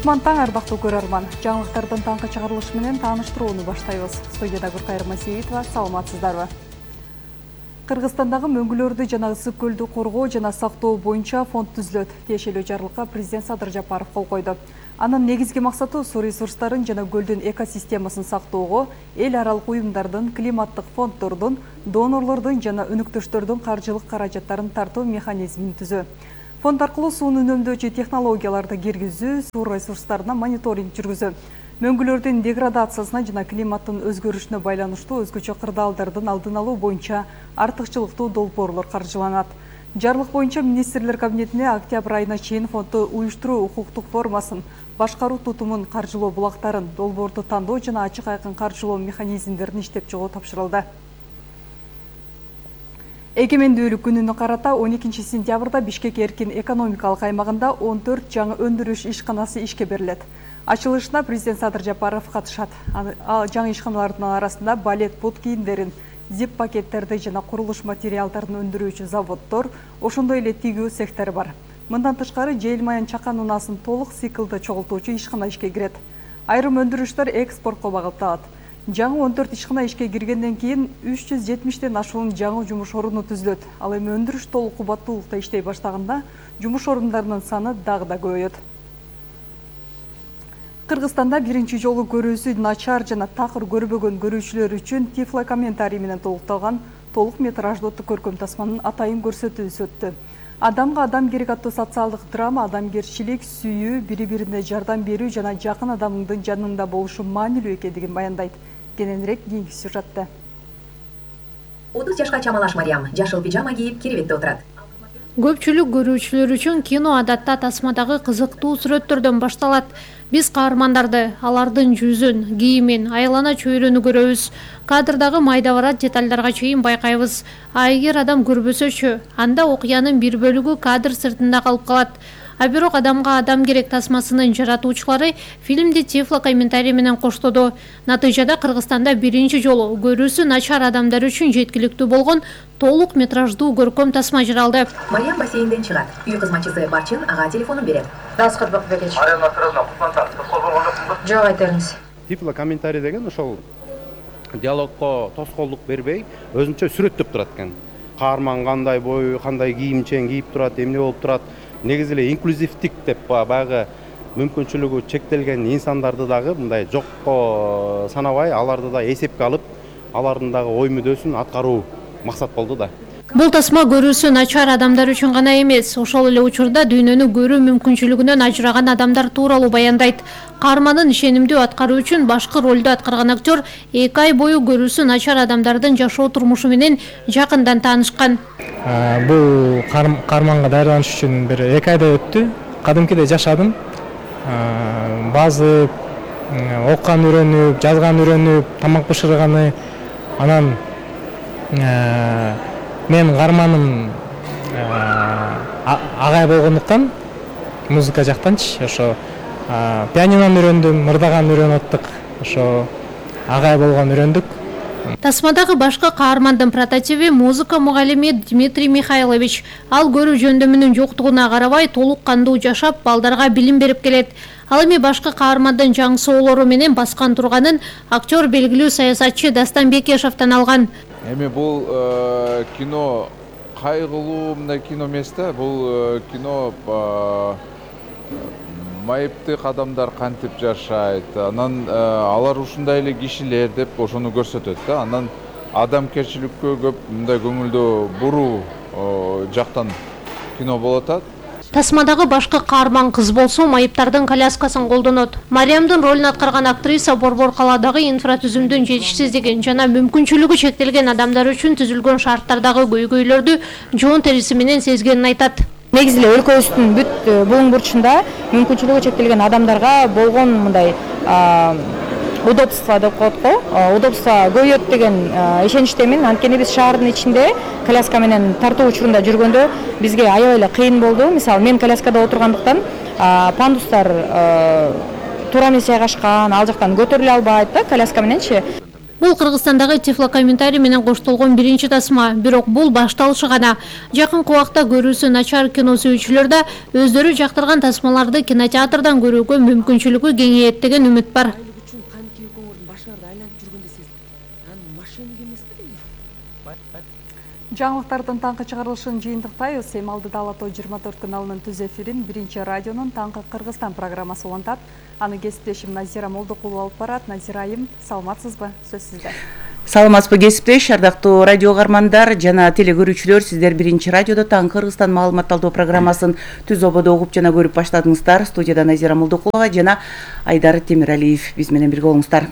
Кутман таң, арбактуу көрөрман. Жаңылыктардын таңкы чыгарылышы менен тааныштырууну баштайбыз. Студияда Гүркайыр Масиевитова, саламатсыздарбы? Кыргызстандагы мөңгүлөрдү жана ысык көлдү коргоо жана сактоо боюнча фонд түзүлөт. Тиешелүү жарлыкка президент Садыр Жапаров кол койду. Анын негизги максаты суу ресурстарын жана көлдүн экосистемасын сактоого, эл аралык уюмдардын, климаттык фонддордун, донорлордун жана өнөктөштөрдүн каржылык каражаттарын тартуу механизмин түзүү. Фонд аркылуу сууну үнөмдөөчү технологияларды киргизүү, суу ресурстарына мониторинг жүргүзүү, мөңгүлөрдүн деградациясына жана климаттын өзгөрүшүнө байланыштуу өзгөчө кырдаалдардын алдын алуу боюнча артыкчылыктуу долбоорлор каржыланат. Жарлык боюнча министрлер кабинетине октябрь айына чейин фондду уюштуруу укуктук формасын, башкаруу тутумун, каржылоо булактарын, долбоорду тандоо жана ачык айкын каржылоо механизмдерин иштеп чыгуу тапшырылды. Эгемендүүлүк күнүнө карата 12 сентябрда Бишкек эркин экономикалык аймагында 14 жаңы өндүрүш ишканасы ишке берилет. Ачылышына президент Садыр Жапаров катышат. Жаңы ишканалардын арасында балет бут кийимдерин, зип пакеттерди жана курулуш материалдарын өндүрүүчү заводдор, ошондой эле тигүү цехтери бар. Мындан тышкары жел майын чакан унаасын толук циклда чогултуучу ишкана ишке кирет. Айрым өндүрүштөр экспортко багытталат. Жаңы 14 ишкана ишке киргенден кийин 370тен ашуун жаңы жумуш орunu түзүлөт. Ал эми өндүрүш толук кубаттуулукта иштей баштаганда жумуш орундарынын саны дагы да көбөйөт. Кыргызстанда биринчи жолу көрүүсү начар жана такыр көрбөгөн көрүүчүлөр үчүн тифлокомментарий менен толукталган толук метраждуу көркөм тасманын атайын көрсөтүүсү өттү. Адамга адам керек аттуу социалдык драма адамгерчилик, сүйүү, бири-бирине жардам берүү жана жакын адамдын жанында болушу маанилүү экендигин баяндайт. Кененирээк кийинки сюжетте. 30 жашка чамалаш Мариям жашыл пижама кийип керебетте отурат. Көпчүлүк көрүүчүлөр үчүн кино адатта тасмадагы кызыктуу сүрөттөрдөн башталат. Биз каармандарды, алардын жүзүн, кийимин, айлана чөйрөнү көрөбүз. Кадрдагы майда барат детальдарга чейин байкайбыз. А эгер адам көрбөсөчү, анда окуянын бир бөлүгү кадр сыртында калып калат. А бирок адамга адам керек тасмасынын жаратуучулары фильмди тифлокомментарий менен коштоду. Натыйжада Кыргызстанда биринчи жолу көрүүсү начар адамдар үчүн жеткиликтүү болгон толук метраждуу көркөм тасма жаралды. Мариям бассейнден чыгат. Үй кызматчысы Барчын ага телефонун берет. Дасқат Бакбекевич. Мариям Насыровна, Кутмантан, тоскоол болгон жоксуңбу? Жок, айтериңиз. Тифлокомментарий деген ошол диалогко тоскоолдук бербей, өзүнчө сүрөттөп турат экен. Каарман кандай бою, кандай кийимчен кийип турат, эмне болуп турат. Негизи эле инклюзивдик деп баягы мүмкүнчүлүгү чектелген инсандарды дагы мындай жокко санабай, аларды да эсепке алып, алардын дагы ой мүдөөсүн аткаруу максат болду да. Бул тасма көрүүсү начар адамдар үчүн гана эмес, ошол эле учурда дүйнөнү көрүү мүмкүнчүлүгүнөн ажыраган адамдар тууралуу баяндайт. Каармандын ишенимдүү аткаруу үчүн башкы ролду аткарган актер 2 ай бою көрүүсү начар адамдардын жашоо турмушу менен жакындан таанышкан. Бул каарманга даярданыш үчүн бир 2 айдай өттү. Кадимкидей жашадым. Баазы окуган үйрөнүп, жазган үйрөнүп, тамак бышырганы, анан мен каарманым агай болгондуктан музыка жактанчы ошо пианинону үйрөндүм, мырдаган үйрөнүп аттык, ошо агай болгон үйрөндүк. Тасмадагы башкы каармандын прототиби музыка мугалими Дмитрий Михайлович. Ал көрүү жөндөмүнүн жоктугуна карабай толук кандуу жашап, балдарга билим берип келет. Ал эми башкы каармандын жаңы соолору менен баскан турганын актер белгилүү саясатчы Дастан Бекешевден алган. Эми бул кино кайгылуу мындай кино эмес да, бул кино майыптык адамдар кантип жашайт, анан алар ушундай эле кишилер деп ошону көрсөтөт да. Анан адамгерчиликкө көп мындай көңүлдү буруу жактан кино болуп атат. Тасмадагы башкы каарман кыз болсо майыптардын коляскасын колдонот. Мариямдын ролун аткарган актриса Борбор калаадагы инфратүзүмдүн жетишсиздигин жана мүмкүнчүлүгү чектелген адамдар үчүн түзүлгөн шарттардагы көйгөйлөрдү жоон териси менен сезгенин айтат. Негизи эле өлкөбүздүн бүт буң бурчунда мүмкүнчүлүгү чектелген адамдарга болгон мындай удобство деп коет го, удобство көбөйөт деген ишеничтемин. Анткени биз шаардын ичинде коляска менен тартуу учурунда жүргөндө бизге аябай эле кыйын болду. Мисалы, мен коляскада отургандыктан пандустар туура эмес жайгашкан, ал жактан көтөрүлө албайт да коляска мененчи. Бул Кыргызстандагы тифлокомментарий менен коштолгон биринчи тасма, бирок бул башталышы гана. Жакынкы убакта көрүүсү начар кино сүйүүчүлөр да өздөрү жактырган тасмаларды кинотеатрдан көрүүгө мүмкүнчүлүгү кеңейет деген үмүт бар. Жаңылыктардын таңкы чыгарылышын жыйынтыктайбыз. Эмалдыда Алатоо 24 каналынын түз эфирин биринчи радионун таңкы Кыргызстан программасы улантат. Аны кесиптешим Назира Молдокулова алып барат. Назира айым, саламатсызбы? Сөз сизде. Саламатсызбы кесиптеш, ардактуу радио каармандар жана телекөрүүчүлөр, сиздер биринчи радиодо таңкы Кыргызстан маалымат алуу программасын түз ободо угуп жана көрүп баштадыңыздар. Студияда Назира Молдокулова жана Айдар Темиралиев биз менен бирге болуңуздар.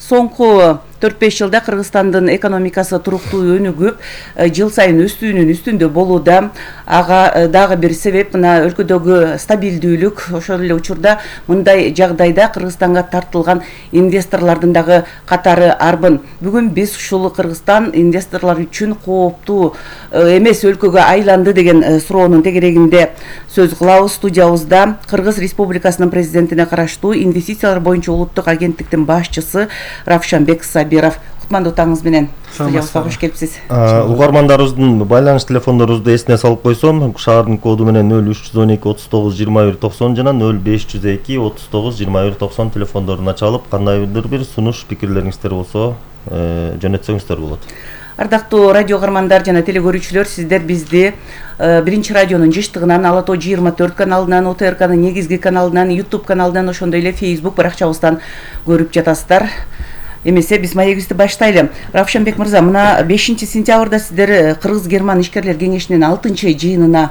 Соңку 4-5 жылда Кыргызстандын экономикасы туруктуу өнүгүп, жыл сайын өстүүнүн үстүндө болууда. Ага дагы бир себеп мына өлкөдөгү стабилдүүлүк. Ошол эле учурда мындай жагдайда Кыргызстанга тартылган инвесторлордун дагы катары арбын. Бүгүн биз ушул Кыргызстан инвесторлор үчүн кооптуу эмес өлкөгө айланды деген суроонун тегерегинде сөз кылабыз. Студиябызда Кыргыз Республикасынын президентине караштуу инвестициялар боюнча улуттук агенттиктин башчысы Равшанбек Сабиров. Кутмандуу таңыңыз менен студиябызга кош келипсиз. Угармандарыбыздын байланыш телефондорубузду эсине салып койсом, шаардын коду менен 0312 39 21 90 жана 0502 39 21 90 телефондорун ачалып, кандайдыр бир сунуш пикирлериңиздер болсо жөнөтсөңүздөр болот. Ардактуу радио каармандар жана телекөрүүчүлөр, сиздер бизди биринчи радионун жыштыгынан, Алатоо 24 каналынан, ОТРКнын негизги каналынан, YouTube каналынан, ошондой эле Facebook баракчабыздан көрүп жатасыздар. Эмесе биз маегибизди баштайлы. Равшанбек мырза, мына 5-сентябрда сиздер Кыргыз-Герман ишкерлер кеңешинин 6-жыйынына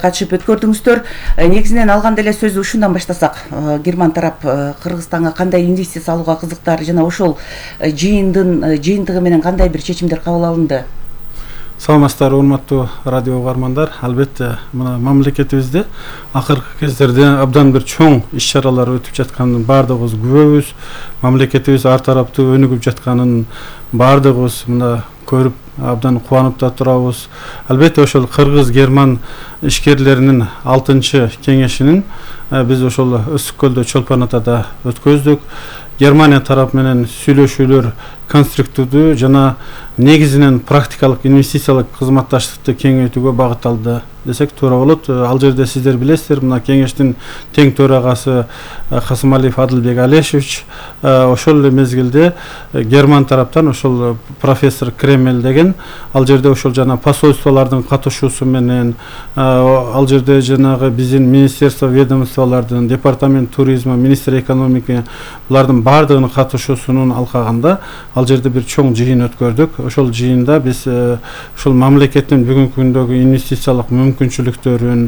катышып өткөрдүңүздөр. Негизинен алганда эле сөздү ушундан баштасак, Герман тарап Кыргызстанга кандай инвестиция салууга кызыктар жана ошол жыйынтыгы менен кандай бир чечимдер кабыл алынды? Саламатсыздар, урматтуу радио каармандар. Албетте, мына мамлекетибизде акыркы кездерде абдан бир чоң иш-чаралар өтүп жатканын баардыгыбыз күбөбүз. Мамлекетибиз ар тараптуу өнүгүп жатканын баардыгыбыз мына көрүп абдан кубанып да турабыз. Албетте, ошол Кыргыз-Герман ишкерлеринин 6-кеңешинин биз ошол Ысык көлдө Чолпон Атада өткөздүк. Германия тарап менен сүйлөшүүлөр конструктивдүү жана негизинен практикалык инвестициялык кызматташтыкты кеңейтүүгө багытталды десек туура болот. Ал жерде сиздер билесиздер, мына кеңештин тең төрагасы Касымалиев Адылбек Алешевич ошол эле мезгилде Герман тараптан ошол профессор Кремель деген ал жерде ошол жана посольстволордун катышуусу менен ал жерде жанагы биздин министерство ведомстволордун, департамент туризма, министр экономика булардын баардыгынын катышуусунун алкагында ал жерде бир чоң жыйын өткөрдүк. Ошол жыйында биз ошол мамлекеттин бүгүнкү күндөгү инвестициялык мүмкүнчүлүктөрүн,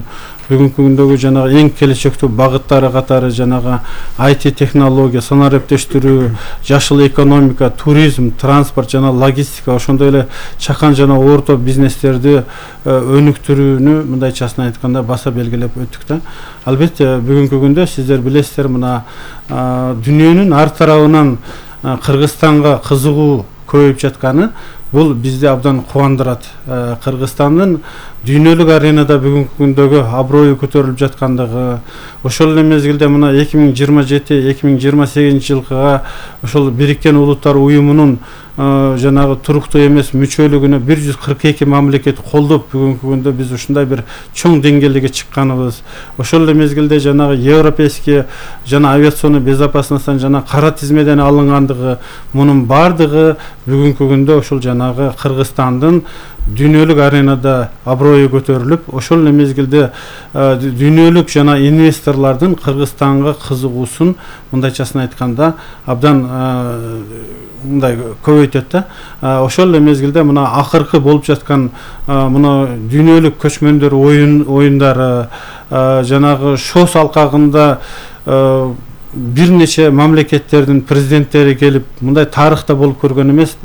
бүгүнкү күндөгү жанагы эң келечектүү багыттары катары жанагы IT технология, санариптештирүү, жашыл экономика, туризм, транспорт жана логистика, ошондой эле чакан жана орто бизнестерди өнүктүрүүнү мындайчасын айтканда баса белгилеп өттүк да. Албетте, бүгүнкү күндө сиздер билесиздер, мына дүйнөнүн ар тарабынан Кыргызстанга кызыгуу көбөйүп жатканы бул бизди абдан кубандырат. Кыргызстандын дүйнөлүк аренада бүгүнкү күндөгү аброю көтөрүлүп жаткандыгы, ошол эле мезгилде мына 2027-2028 жылкыга ошол Бириккен Улуттар Уюмунун жанагы туруктуу эмес мүчөлүгүнө 142 мамлекет колдоп бүгүнкү күндө биз ушундай бир чоң деңгээлге чыкканыбыз. Ошол эле мезгилде жанагы европейский жана авиационный безопасностьтан жана кара тизмеден алынгандыгы, мунун баардыгы бүгүнкү күндө ошол жанагы Кыргызстандын дүйнөлүк аренада аброю көтөрүлүп, ошол эле мезгилде дүйнөлүк жана инвесторлордун Кыргызстанга кызыгуусун мындайчасын айтканда абдан мындай көбөйтөт да. Ошол эле мезгилде мына акыркы болуп жаткан мына дүйнөлүк көчмөндөр оюндары жанагы шос алкагында бир нече мамлекеттердин президенттери келип мындай тарыхта болуп көргөн эмес.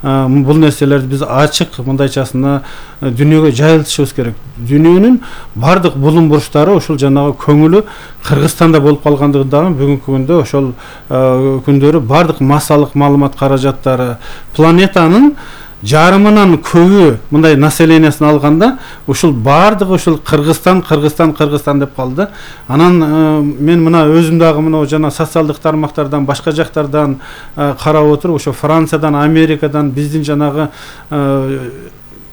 Бул нерселерди биз ачык мындайчасына дүйнөгө жайылтышыбыз керек. Дүйнөнүн бардык булум бурчтары ошол жанагы көңүлү Кыргызстанда болуп калгандыгы дагы бүгүнкү күндө ошол күндөрү бардык массалык маалымат каражаттары планетанын жарымынан көбү мындай населениясын алганда ушул баардыгы ушул Кыргызстан деп калды. Анан мен мына өзүм дагы мына жана социалдык тармактардан башка жактардан карап отуруп ошо Франциядан, Америкадан биздин жанагы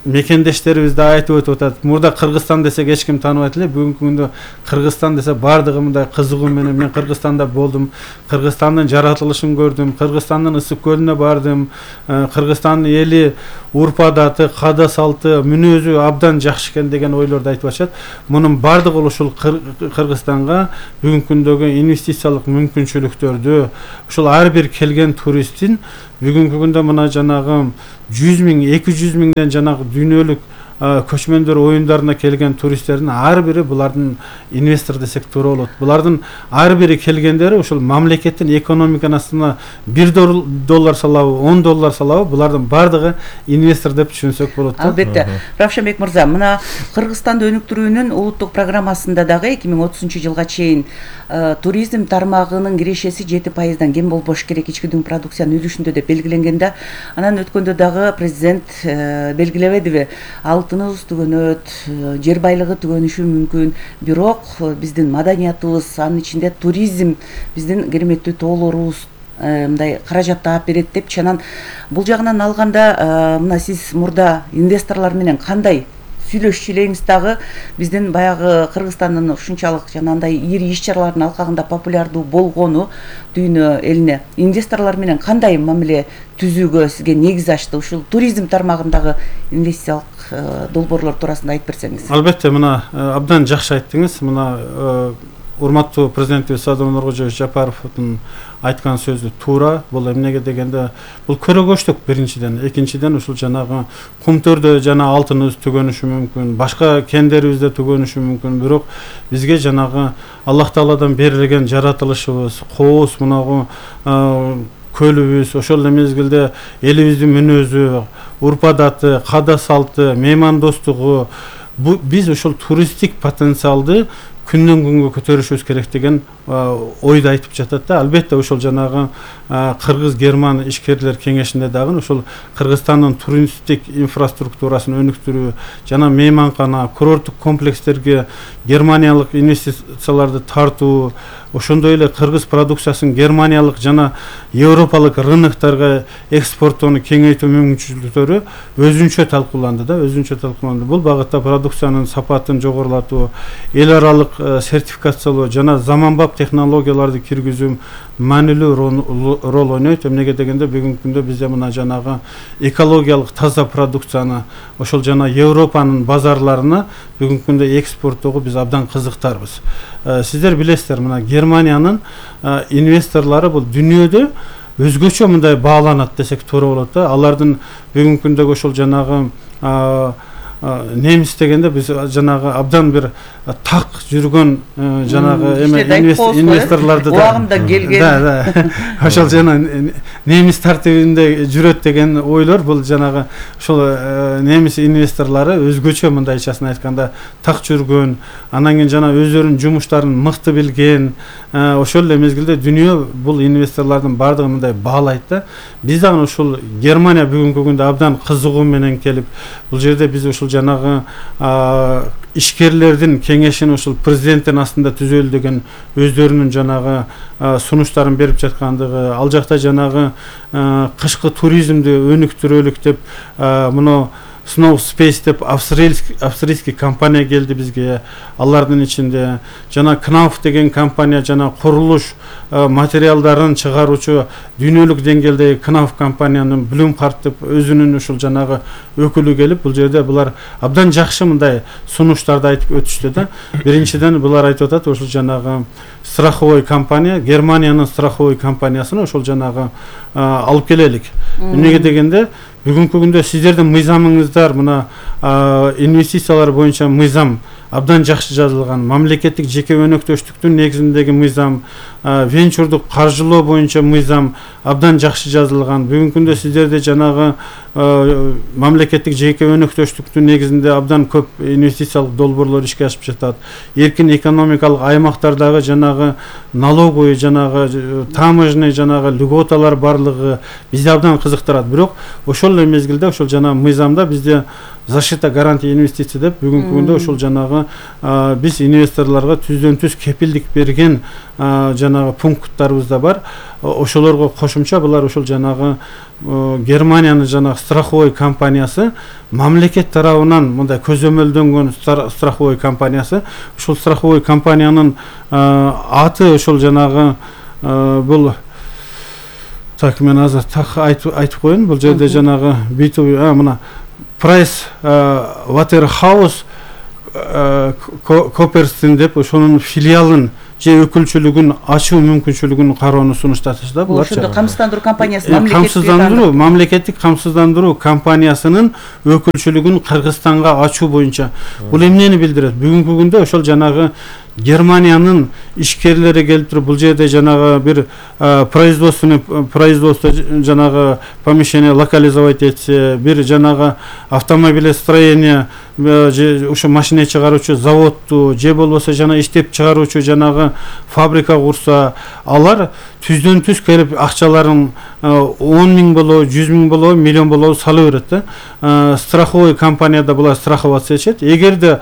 мекендештерибиз да айтып өтүп атат. Мурда Кыргызстан десек эч ким тааныбайт эле. Бүгүнкү күндө Кыргызстан десе баардыгы мындай кызыгуу менен мен Кыргызстанда болдум. Кыргызстандын жаратылышын көрдүм. Кыргызстандын ысык көлүнө бардым. Кыргызстандын эли, урп адаты, када салты, мүнөзү абдан жакшы экен деген ойлорду айтып атышат. Мунун баардыгы ушул Кыргызстанга бүгүнкү күндөгү инвестициялык мүмкүнчүлүктөрдү, ушул ар бир келген туристтин бүгүнкү күндө мына жанагы 100 миң, 200 миңден жанагы дүйнөлүк көчмөндөр оюндарына келген туристтердин ар бири булардын инвестор десек туура болот. Булардын ар бири келгендери ушул мамлекеттин экономикасына $1 салабы, $10 салабы, булардын баардыгы инвестор деп түшүнсөк болот. Албетте. Равшанбек мырза, мына Кыргызстанды өнүктүрүүнүн улуттук программасында дагы 2030 жылга чейин туризм тармагынын кирешеси 7%дан кем болбош керек ички дүң продукциянын үлүшүндө деп белгиленгенде, анан өткөндө дагы президент белгилебедиби? Алтыныбыз түгөнөт, жер байлыгы түгөнүшү мүмкүн, бирок биздин маданиятыбыз, анын ичинде туризм биздин кереметтүү тоолорубуз мындай каражат таап берет деп чанан бул жагынан алганда мына сиз мурда инвесторлор менен кандай сүйлөшчү элеңиз дагы биздин баягы Кыргызстандын ушунчалык жанагындай ири иш чаралардын алкагында популярдуу болгону дүйнө элине инвесторлор менен кандай мамиле түзүүгө сизге негиз ачты? Ушул туризм тармагындагы инвестициялык долбоорлор туурасында айтып берсеңиз. Албетте, мына абдан жакшы айттыңыз. Мына урматтуу президентибиз Садыр Нуркожоевич Жапаровдун айткан сөзү туура. Бул эмнеге дегенде бул көрөгөчтүк биринчиден, экинчиден ушул жанагы кумтөрдө жана алтыныбыз түгөнүшү мүмкүн, башка кендерибизде түгөнүшү мүмкүн, бирок бизге жанагы Аллах Тааладан берилген жаратылышыбыз, кооз мынагы көлүбүз, ошол эле мезгилде элибиздин мүнөзү, урп адаты, када салты, меймандостугу, биз ошол туристтик потенциалды күндөн күнгө көтөрүшүбүз керек деген ойду айтып жатат да. Албетте ошол жанагы Кыргыз-Герман ишкерлер кеңешинде дагы ошол Кыргызстандын туристтик инфраструктурасын өнүктүрүү жана мейманкана, курорттук комплекстерге германиялык инвестицияларды тартуу, ошондой эле кыргыз продукциясын германиялык жана европалык рыноктарга экспорттоону кеңейтүү мүмкүнчүлүктөрү өзүнчө талкууланды да, Бул багытта продукциянын сапатын жогорулатуу, эл аралык сертификациялоо жана заманбап технологияларды киргизүү маанилүү роль ойнойт. Эмнеге дегенде бүгүнкү күндө бизде мына жанагы экологиялык таза продукцияны ошол жана Европанын базарларына бүгүнкү күндө экспорттоого биз абдан кызыктарбыз. Сиздер билесиздер, мына Германиянын инвесторлору бул дүйнөдө өзгөчө мындай бааланат десек туура болот да. Алардын бүгүнкү күндөгү ошол жанагы немис дегенде биз жанагы абдан бир так жүргөн жанагы инвесторлорду убагында келген ошол жана немис тартибинде жүрөт деген ойлор бул жанагы ошол немис инвесторлору өзгөчө мындайчасын айтканда так жүргөн, анан кийин жана өздөрүнүн жумуштарын мыкты билген, ошол эле мезгилде дүйнө бул инвесторлордун баардыгын мындай баалайт да. Биз дагы ушул Германия бүгүнкү күндө абдан кызыгуу менен келип, бул жерде биз ушул жанагы ишкерлердин кеңешин ушул президенттин астында түзөлү деген өздөрүнүн жанагы сунуштарын берип жаткандыгы, ал жакта жанагы кышкы туризмди өнүктүрөлүк деп муну Snow Space деп австрийский компания келди бизге. Алардын ичинде жана Knauf деген компания жана курулуш материалдарын чыгаруучу дүйнөлүк деңгээлдеги Knauf компаниянын Blumhardt деп өзүнүн ушул жанагы өкүлү келип, бул жерде булар абдан жакшы мындай сунуштарды айтып өтүштү да. Биринчиден булар айтып атат, ошол жанагы страховой компания, Германиянын страховой компаниясын ошол жанагы алып келелик. Эмнеге дегенде бүгүнкү күндө сиздердин мыйзамыңыздар мына инвестициялар боюнча мыйзам абдан жакшы жазылган. Мамлекеттик жеке өнөктөштүктүн негизиндеги мыйзам, венчурдук каржылоо боюнча мыйзам абдан жакшы жазылган. Бүгүнкү күндө сиздерде жанагы мамлекеттик жеке өнөктөштүктүн негизинде абдан көп инвестициялык долбоорлор ишке ашып жатат. Эркин экономикалык аймактардагы жанагы налоговый, жанагы таможенный, жанагы льготалар барлыгы бизди абдан кызыктырат. Бирок ошол эле мезгилде ошол жанагы мыйзамда бизде защита гарантия инвестиций деп бүгүнкү күндө ошол жанагы биз инвесторлорго түздөн-түз кепилдик берген жанагы пункттарыбыз да бар. Ошолорго кошумча булар ошол жанагы Германиянын жанагы страховой компаниясы, мамлекет тарабынан мындай көзөмөлдөнгөн страховой компаниясы. Ошол страховой компаниянын аты ошол жанагы бул так мен азыр так айтып коеюн. Бул жерде жанагы B2B мына Price Waterhouse Coopersin деп ошонун филиалын же өкүлчүлүгүн ачуу мүмкүнчүлүгүн кароону сунуштатышты да булар. Ошондо камсыздандыруу компаниясы мамлекеттик камсыздандыруу компаниясынын өкүлчүлүгүн Кыргызстанга ачуу боюнча. Бул эмнени билдирет? Бүгүнкү күндө ошол жанагы Германиянын ишкерлери келип туруп бул жерде жанагы бир производство жанагы помещение локализовать этсе, бир жанагы автомобилестроение же ошо машина чыгаруучу заводду же болбосо жана иштеп чыгаруучу жанагы фабрика курса, алар түздөн-түз келип акчаларын 10 миң болобу, 100 миң болобу, миллион болобу салып берет да. Страховой компанияда булар страховаться этишет. Эгерде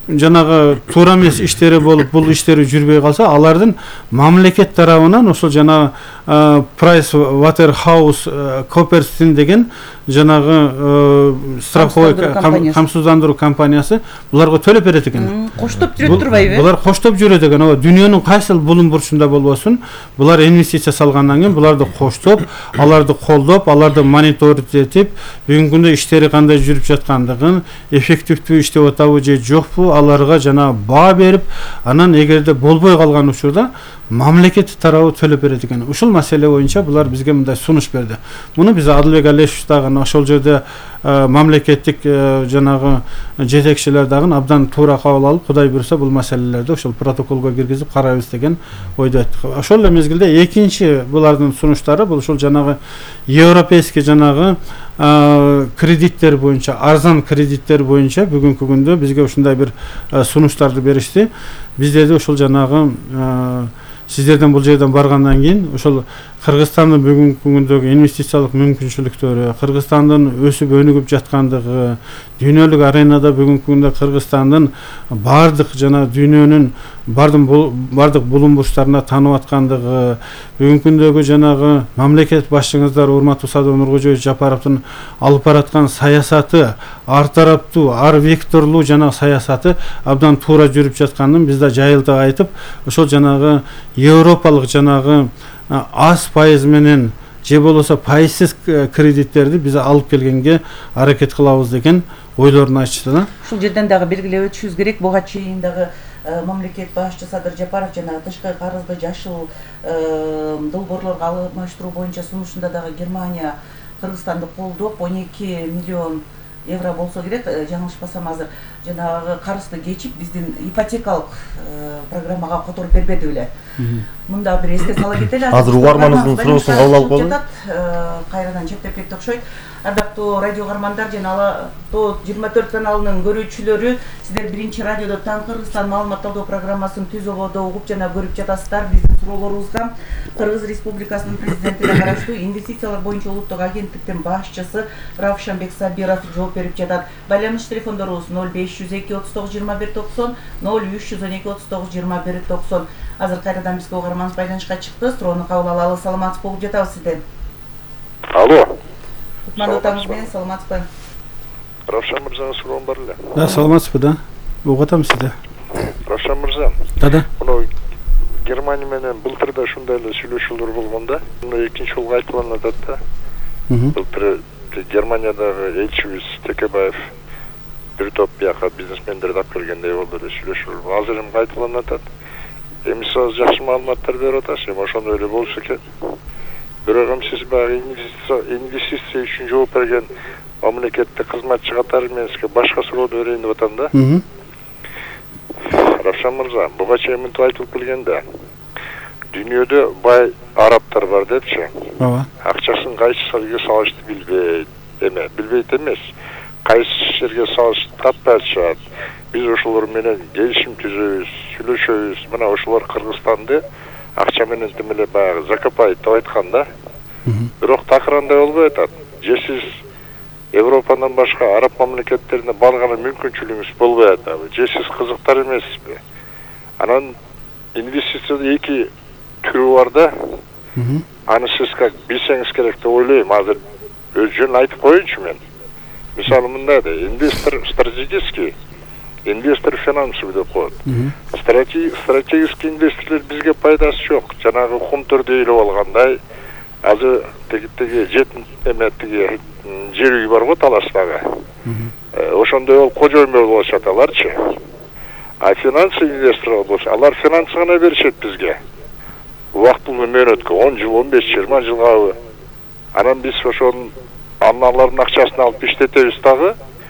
жанагы туура эмес иштери болуп, бул иштери жүрбөй калса, алардын мамлекет тарабынан ошол жанагы Price Waterhouse Coopersin деген жанагы страховой камсыздандыруу компаниясы буларга төлөп берет экен. Коштоп жүрөт турбайбы? Булар коштоп жүрөт экен. Дүйнөнүн кайсыл булун бурчунда болбосун, булар инвестиция салгандан кийин буларды коштоп, аларды колдоп, аларды мониторинг этип, бүгүнкү күндө иштери кандай жүрүп жаткандыгын, эффективдүү иштеп атабы же жокпу, аларга жана баа берип, анан эгерде болбой калган учурда мамлекет тарабы төлөп берет экен. Ушул маселе боюнча булар бизге мындай сунуш берди. Муну биз Адылбек Алешев дагы ошол жерде мамлекеттик жанагы жетекчилер дагы абдан туура кабыл алып, Кудай буйрса бул маселелерди ошол протоколго киргизип карайбыз деген ойдо айттык. Ошол эле мезгилде экинчи булардын сунуштары бул ушул жанагы европейский жанагы кредиттер боюнча, арзан кредиттер боюнча бүгүнкү күндө бизге ушундай бир сунуштарды беришти. Биздерде ошол жанагы сиздерден бул жерден баргандан кийин ошол Кыргызстандын бүгүнкү күндөгү инвестициялык мүмкүнчүлүктөрү, Кыргызстандын өсүп өнүгүп жаткандыгы, дүйнөлүк аренада бүгүнкү күндө Кыргызстандын бардык жана дүйнөнүн бардык булун бурчтарына таанып аткандыгы, бүгүнкү күндөгү жанагы мамлекет башчыңыздар урматтуу Садыр Нуркожоевич Жапаровдун алып бараткан саясаты, ар тараптуу, ар векторлуу жанагы саясаты абдан туура жүрүп жатканын биз да жайылтып айтып, ошол жанагы европалык жанагы аз пайыз менен же болбосо пайызсыз кредиттерди биз алып келгенге аракет кылабыз деген ойлорун айтышты да. Ушул жерден дагы белгилеп өтүшүбүз керек. Буга чейин дагы мамлекет башчы Садыр Жапаров жана тышкы карызды жашыл долбоорлорго алмаштыруу боюнча сунушунда дагы Германия Кыргызстанды колдоп 12 миллион евро болсо керек, жаңылышпасам азыр жанагы карызды кечип биздин ипотекалык программага которуп бербеди беле. Мында бир эске сала кетели. Азыр угарманыбыздын суроосун кабыл алып коелу. Кайрадан чектеп кетти окшойт. Ардактуу радио каармандар жана Ала 24 каналынын көрүүчүлөрү, сиздер биринчи радиодо Таң Кыргызстан маалымат талдоо программасын түз ободо угуп жана көрүп жатасыздар. Биздин суроолорубузга Кыргыз Республикасынын президентине караштуу инвестициялар боюнча улуттук агенттиктин башчысы Равшанбек Сабиров жооп берип жатат. Байланыш телефондорубуз 0502 39 21 90, 0312 39 21 90. Азыр кайрадан бизге угарманыбыз байланышка чыкты. Суроону кабыл алалы. Саламатсыз болуп жатабыз сизден. Алло. Кутмандуу таңыңыз менен, саламатсызбы? Равшан мырзанын суроом бар эле. Да, саламатсызбы да. Угуп атам сизди. Равшан мырза. Да. Муну Германия менен былтыр да ушундай эле сүйлөшүүлөр болгон да. Муну экинчи жолу айтылып атат да. Былтыр Германиядагы элчибиз Текебаев бир топ бияка бизнесмендерди алып келгендей болду эле сүйлөшүүлөр. Азыр эми кайталанып атат. Эми сиз жакшы маалыматтар берип атасыз, эми ошондой эле болсо экен. Бирок эми сиз баягы инвестиция үчүн жооп берген мамлекеттик кызматчы катары мен сизге башка суроону берейин деп атам да. Равшан мырза, буга чейин мынтип айтылып келген да. дүйнөдө бай арабтар бар депчи. ооба. Акчасын кайсы жерге салышты билбейт эмес. Кайсы жерге салышты таппай атышат. Биз ошолор менен келишим түзөбүз, сүйлөшөбүз. Мына ошолор Кыргызстанды акча менен тим эле баягы закопать деп айтканда. Бирок такырандай болбой атат. Же сиз Европадан башка араб мамлекеттерине барган мүмкүнчүлүгүңүз болбой атабы? Же сиз кызыктар эмессизби? Анан инвестицияда эки түрү бар да. Аны сиз как билсеңиз керек деп ойлойм. Азыр өз жөн айтып коеюнчу мен. Мисалы мындай да, инвестор стратегический, инвестор финансовый деп коет. Стратегический инвесторлор бизге пайдасы жок. Жанагы кумтөр дейлип алгандай, азыр теги жетин тиги жер үй бар го Таластагы. Ошондой болуп кожоймор болушат аларчы. А финансовый инвесторлор болсо, алар финансы гана беришет бизге. Убактылуу мөөнөткө 10 жыл, 15-20 жылга. Анан биз ошонун аналардын акчасын алып иштетебиз дагы.